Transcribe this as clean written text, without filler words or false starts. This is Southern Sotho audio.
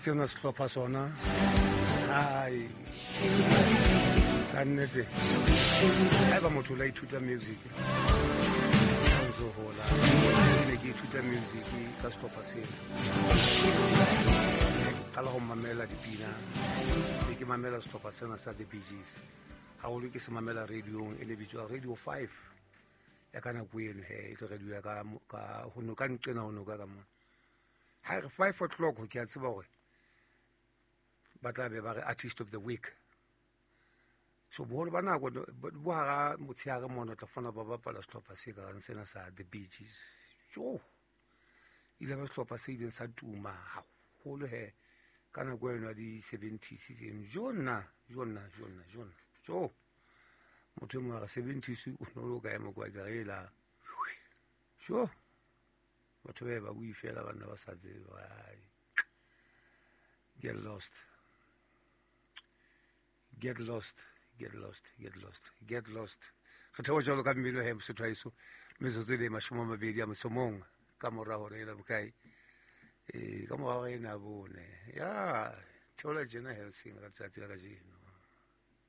Sena sehlopha sona, ai, ka nnete, haeba motho o la ithuta music o ntso hola, ke ne ke ithuta music ka sehlopha sena. Ke qala ho mamela dipina, be ke mamela sehlopha sena sa The Bee Gees haholo. Ke se mamela radiong e ne bitswa Radio 5 ya ka nako eno. He, e tlo radio ya ka ho noka, nqena ho noka ka mona. Ha re 5 o'clock, ke a tseba hore ba tla be ba re Artist of the Week. So boholo ba nako bo hara motshehare mona, tla fona ba bapala sehlopha se karang sena sa The Bee Gees. Jo, ile ba sehlopha se ileng sa tuma haholo he ka nako eno ya di-70s tseno. Jo nna, jo nna, jo nna, jo nna, jo motho e mongwe a re 70s o ne o le o kae mo kwa? Ke re ela jo, batho ba ba bue fela, banna ba sa tsebe. Ai, get lost, get lost, get lost, get lost, get lost. Re theoha jalo ka mmino he, Mosotho haeso. Metsotso e le 21 ka mora hore ena bokae? Ee, ka mora hore ena bone ya theola tjena helsing ka letsatsi la kajeno.